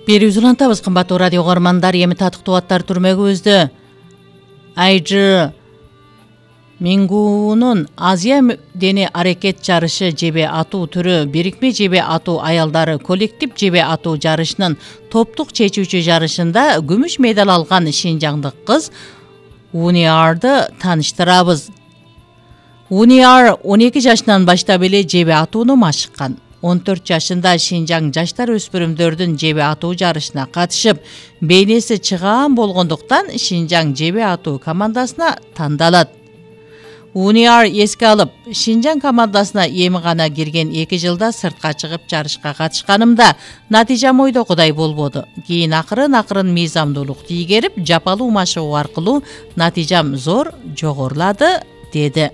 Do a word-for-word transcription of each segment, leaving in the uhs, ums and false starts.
Берүүбүз улантабыз, кымбаттуу радио угармандар. Эми татыктуу аттар түрмөгүбүздө Айжы Мингуунун Азия дене аракет жарышы жебе атуу түрү бирикме жебе атуу аялдары коллектив жебе атуу жарышынын топтук чечүүчү жарышында күмүш медаль алган шинжаңдык кыз Униарды тааныштырабыз. Униар он эки жашынан баштап эле жебе атууну машыккан. он төрт жашында Шинжаң жаштар өспүрүмдөрдүн жебе атуу жарышына катышып, бейнеси чыгаан болгондуктан Шинжаң жебе атуу командасына тандалат. Униар эске алып, Шинжаң командасына эми гана кирген эки жылда сыртка чыгып жарышка катышканымда натыйжам ойдогудай болбоду. Кийин акырын-акырын мыйзамдуулук тийгерип, жапалуу машыгуу аркылуу натыйжам зор жогорулады, деди.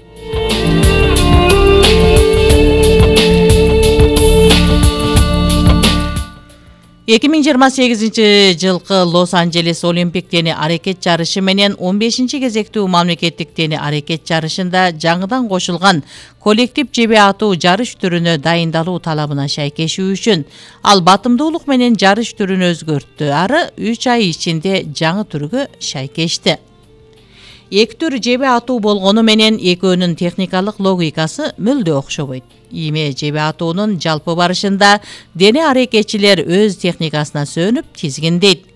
эки миң жыйырма сегизинчи жылкы Лос-Анджелес Олимпик дене аракет жарышы менен он бешинчи кезектүү мамлекеттик дене аракет жарышында жаңыдан кошулган коллектив жебе атуу жарыш түрүнө дайындалуу талабына шайкешүү үчүн ал батымдуулук менен жарыш түрүн өзгөрттү, ары үч ай ичинде жаңы түргө шайкешти. Эки түр жебе атуу болгону менен экөөнүн техникалык логикасы мүлдө окшобойт. Име жебе атуунун жалпы барышында дене аракетчилер өз техникасына сөнүп тизгиндейт.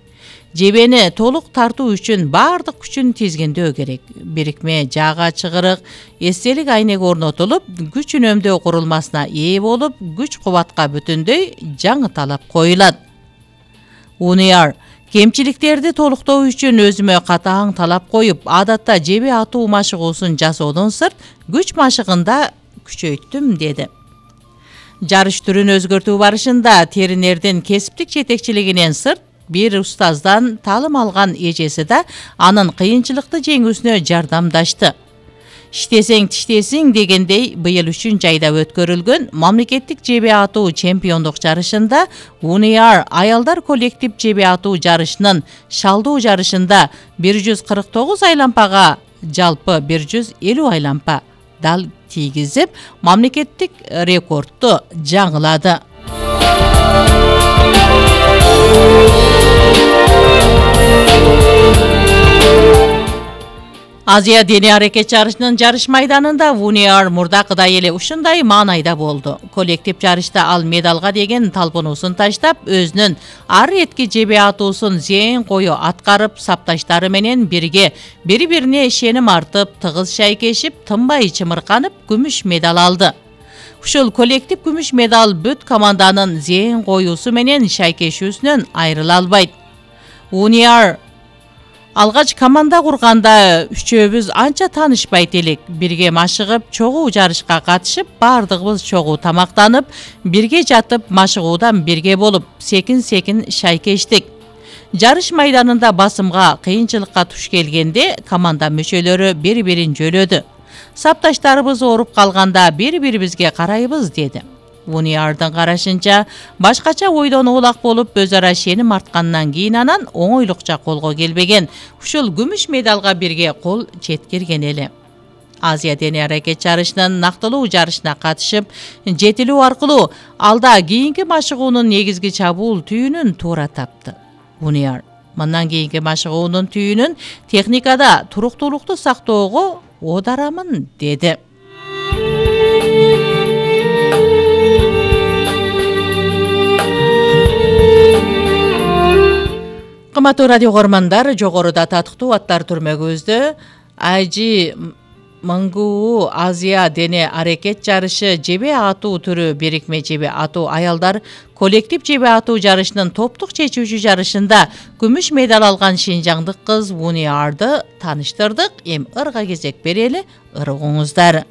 Жебени толук тартуу үчүн баардык күчүн тизгиндөө керек. Бирикме жаага чыгырык, эстелик айнек орнотулуп, күч үнөмдөө курулмасына ээ болуп, күч кубатка бүтүндөй жаңы талап коюлат. Униар кемчиликтерди толуктоо үчүн өзүмө катаң талап коюп, адатта жебе атуу машыгуусун жасоодон сырт күч машыгында күчөйттүм, деди. Жарыш түрүн өзгөртүү барышында теринердин кесиптик жетекчилигинен сырт бир устаздан таалым алган эжеси да анын кыйынчылыкты жеңүүсүнө жардамдашты. Иштесең тиштесиң дегендей быйыл үчүнчү айда өткөрүлгөн мамлекеттик жебе атуу чемпиондук жарышында Униар аялдар коллектив жебе атуу жарышынын шалдоо жарышында бир жүз кырк тогуз айлампага жалпы бир жүз элүү айлампа дал тийгизип, мамлекеттик рекордту жаңылады. Азия дене аракет жарышынын жарыш майданында Униар мурдакыдай эле ушундай маанайда болду. Коллектив жарышта ал медалга деген талпынуусун таштап, өзүнүн ар этки жебе атуусун зээн кою аткарып, сапташтары менен бирге бири-бирине ишеним артып, тыгыз шайкешип, тынбай чымырканып, күмүш медаль алды. Ушул коллектив күмүш медаль бүт команданын зээн коюусу менен шайкешүүсүнөн айрыла албайт. Униар алгач команда курганда үчөөбүз анча таанышпайт элек. Бирге машыгып, чогуу жарышка катышып, баардыгыбыз чогуу тамактанып, бирге жатып, машыгуудан бирге болуп, секин-секин шайкештик. Жарыш майданында басымга, кыйынчылыкка туш келгенде команда мүчөлөрү бири-бирин жөлөдү. Сапташтарыбыз ооруп калганда бири-бирибизге карайбыз, деди. Униардын карашынча, башкача ойдон оолак болуп, өз ара ишеним арткандан кийин анан оңойлукча колго келбеген. Ушул күмүш медалга бирге кол жеткирген эле. Азия дене аракет жарышынын нактылуу жарышына катышып, жетилүү аркылуу алда кийинки машыгуунун негизги чабуул түйүнүн туура тапты. Униар мындан кийинки машыгуунун түйүнүн техникада туруктуулукту сактоого оодарамын, деди. Кымбаттуу радио угармандар, жогоруда татыктуу аттар түрмөгүбүздө Айжи Мингуу Азия дене аракет жарышы жебе атуу түрү бирикме жебе атуу аялдар коллектив жебе атуу жарышынын топтук чечүүчү жарышында күмүш медаль алган шинжаңдык кыз Униарды тааныштырдык. Эми ырга кезек берели, ыргыңыздар.